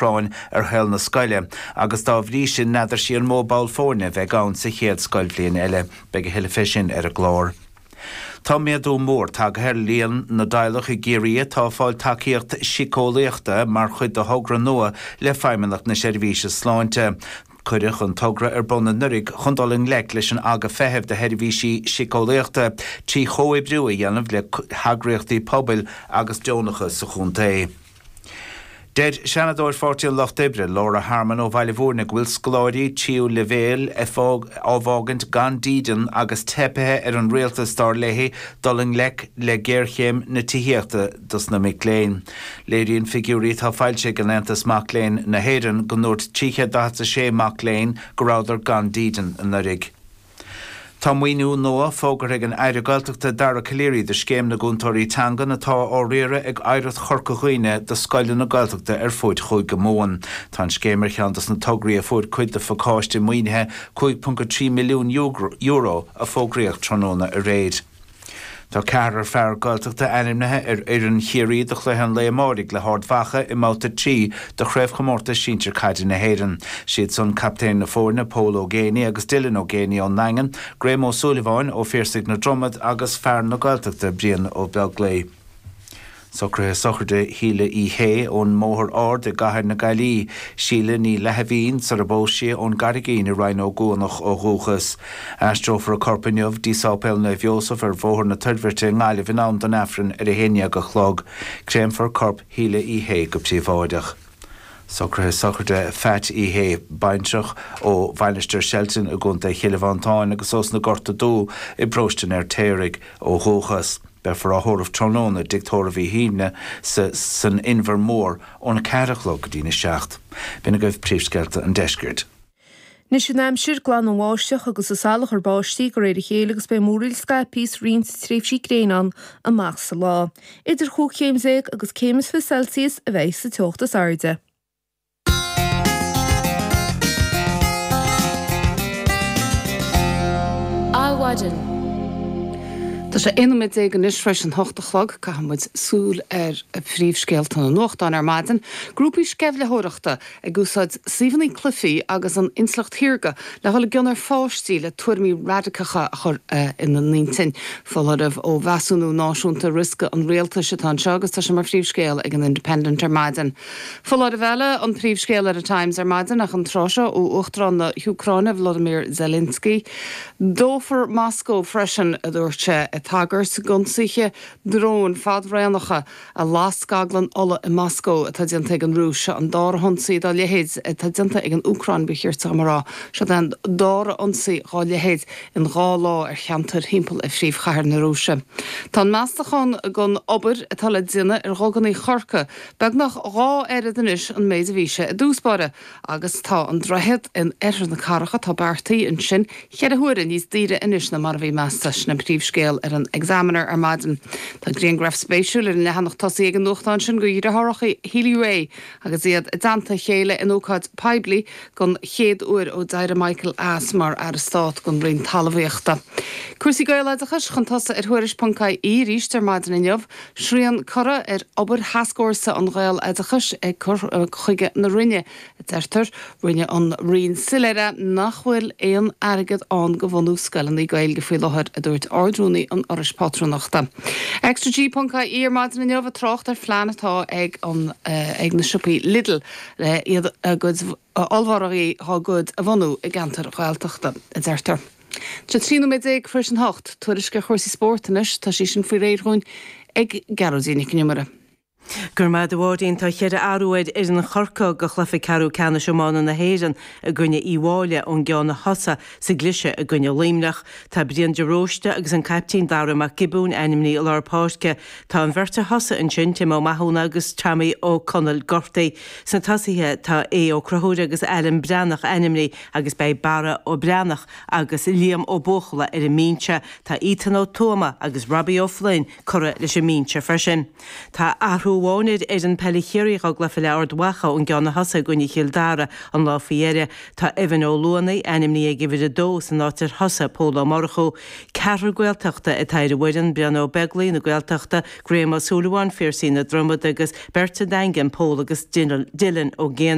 Úcráin ar shaol na scoile agus dá bhrí sin n'fheadar sí an mó ball foirne a bheidh ann sa chéad scoilbhliain eile. Beidh a thuilleadh fé sin ar an gclár. Tá méadú mór tagaithe ar líon na dteaghlach i gCiarraí atá ag fáil tacaíocht síceolaíochta mar chuid de thogra nua le Feidhmeannacht na Seirbhíse Sláinte. Cuireadh an togra ar bun anuraidh chun dul i ngleic leis an aga feithimh do sheirbhísí síceolaíochta trí chomhoibriú a dhéanamh le heagraíochtaí pobail agus deonacha sa chontae. Deir Seanadóir Pháirtí an Lucht Oibre, Laura Harmon ó Bhaile Bhúirne go bhfuil scoláirí tríú leibhéal á bhfágaint gan dídean agus teipthe ar an rialtas, dar léi, dul i ngleic le géarchéim na tithíochta dos na mic léinn. Léiríonn figiúirí atá foilsithe ag an Aontas Mac Léinn na hÉireann go ndúirt 346 mac léinn go rabhadar gan dídean anuraidh. Tá maoiniú nua fógartha ag an Aire Gaeltachta Dara Calleary do Scéim na gCúntóirí Teangan atá á riaradh ag Oidhreacht Chorca Dhuibhne do scoileanna Gaeltachta ar fuaid Chúige Mumhan. Tá an scéim ar cheann dos na tograí a fuair cuid de phacáiste maoinithe €5.3 milliún a fógraíodh tráthnóna aréir. Tá ceathrar fear Gaeltachta ainmnithe ar fhoireann Chiarraí do chluiche an lae amáirigh le hArd Mhacha i mBabhta 3 de Chraobhchomórtas Sinsir Caide na hÉireann. Siad san captaen na foirne, Pól Ó Géibheannaigh agus Dylan Ó Géibheannaigh ón nDaingean, Graham Ó Súilleabháin ó Phiarsaigh na Dromad agus fear na Gaeltachta, Brian Ó Beaglaoi. Socruithe sochraide Shíle Uí Shé ón mBóthar Ard i gCathair na Gaillimhe, Síle Ní Leathmhín sar a bpós sí ón gCarraigín i Rinn Ó gCuanach ó dhúchas. Aistreofar a corp inniu dtí Sáipéal Naomh Iósaf ar Bhóthar na Toirbhirte i nGaillimh in am don Aifreann ar 11 a chlog. Créamfar corp Shíle Uí Shé go príobháideach. Socruithe sochraide Phat Uí Shé, baintreach ó Mhainistir Shelton i gContae Chill Mhantáin agus ós na Gorta Dubha i bParóiste an Fheirtéaraigh ó dhúchas. Beifear á thórramh tráthnóna i dTigh Tórraimh Uí Shuibhne san Inbhear Mór óna 4 a chlog go dtína 7. B'in agaibh príomhscéalta an deiscirt. Anois an aimsir, glan an bháisteach agus an salachar báistí de réir a chéile agus beidh múraíl scaipthe is roinnt tréimhsí gréine ann amach sa lá. Idir chúig chéim déag agus céim is 20 Celsius a bheidh sa teocht is airde. Adhmhaidin. Tá sé 11 nóiméad anois tar éis an hocht a chlog. Caithfidh muid súil ar phríomhscéalta na nuachtán ar maidin. Grúpaí sceimhlitheoireachta ag úsáid suíomhanna cluichí agus an intleacht shaorga le dhul i gcion ar pháistí le tuairimí raidiceacha a chur ina n-intinn. Foláireamh ó Mheasúnú Náisiúnta Riosca an Rialtais atá anseo agus tá sé mar phríomhscéal ag an Independent ar maidin. Foláireamh eile an príomhscéal ar an Times ar maidin ach an tráth seo ó Uachtarán na hÚcráine Volodymyr Zelensky. Dófar Moscó freisin, a dúirt sé, ag tagairt d'ionsaithe dróin fadraonacha a las scaglann ola i Moscó atá déanta ag an Rúis. Seo an dara hionsaí dá leithéid atá déanta ag an Úcráin, ba cheart dom a rá. Seo é an dara ionsaí dhá leithéid in 2 lá ar cheantair thimpeall ar phríomhchathair na Rúise. Tá an meastachán don obair atá le déanamh ar dhuganna Chorcaí Beagnach 2 oiread anois an méid a bhí sé i dtús báire agus tá an droichead in oirthear na cathrach atá beartaithe ansin cheithre huaire níos daoire anois ná mar a bhí measta. Sin an príomhscéal ar an Examiner ar maidin. Tá grianghraf spéisiúil ar an leathanach tosaigh ag an nuachtán sin de dheartháireacha Healy-Rae agus iad i dteannta a chéile in ócáid poiblí don chéad uair ó d'éirigh Michael as mar Aire Stát don Roinn Talmhaíochta. Cúrsaí Gaeloideachais chun tosaigh ar Thuairisc.ie arís ar maidin inniu. Srian curtha ar obair thascfhórsa an Ghaeloideachais ag cur chuige na Roinne, a deirtear. Rinne an Roinn soiléir é nach bhfuil aon airgead ann do bhunú scoileanna Gaeilge faoi láthair, a dúirt Ard-Rúnaí an Fhorais Pátrúnachta. ExtraG.ie ar maidin inniu ag trácht ar phlean atá ag an ag na siopaí Lidl le iad a gcuid ollmhargaí dhá gcuid a bhunú i gceantair Ghaeltachta, a deirtear. Tá 13 nóiméad tar éis an hocht. Tuairisc ar chúrsaí spóirt anois, tá sí sin faoi réir dhúinn ag Gearóidín Nic an Iomaire. Go raibh maith agat a Mháirín. Tá cheithre athrú ar fhoireann Chorcaí do chluiche ceathrú ceannais iomána na hÉireann i gcoinne Uíbh Fhailí ón gceann a thosaigh sa gcliseadh i gcoinne Luimneach. Tá Brian de Róiste agus an caiptín Dara Mac Giobúin ainmnithe i lár páirce. Tá an bheirt a thosaigh ansin, Tim Ó Mathúna agus Tommy Ó Conaill gortaithe. Sna tosaithe tá Aodh Ó Conchúir agus Alan Breathnach ainmnithe agus beidh Barra Ó Breathnach agus Liam Ó Buachalla ar an mbinse. Tá Ethan Ó Tuama agus Robbie Ó Floinn curtha leis an mbinse freisin. Tá athrú. Athrú amháin ar fhoireann peile Chiarraí dá gcloífidh le Ard Mhacha ón gceann a thosaigh i gcoinne Chill Dara an lá faoi dheireadh. Tá Evan Ó Luanaigh ainmnithe ag uimhir 2 san áit ar thosaigh Pól Ó Murchú. Ceathrar Gaeltachta atá ar an bhfoireann, Brian Ó Beaglaoi na Gaeltachta, Graham Ó Súilleabháin, Phiarsaigh na Dromad agus beirt an Daingin, Pól agus Dylan Ó Géinigh.